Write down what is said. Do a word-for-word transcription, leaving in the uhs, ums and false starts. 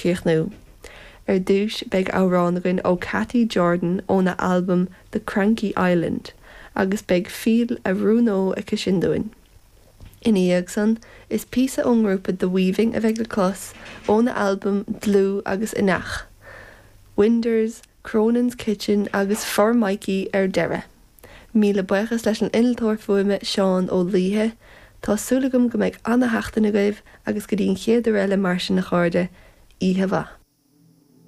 chríochnú. Ar dtús beidh amhrán againn ó Cathy Jordan óna albam The Cranky Island, agus beidh Fíll a Rúnó aici sin dúinn. Ina dhiaidh san is píosa ón ngrúpa The Weaving a bheidh le clos óna albam Dlúth agus Inneach. Winders, Cronin's Kitchen agus For Mikey ar deireadh. Míle buíochas leis an innealtóir fuaime Seán Ó Laoithe, Tá súil agam go mbeidh an-seachtain agaibh agus go dtí an chéad uair eile mar sin a chairde, oíche mhaith.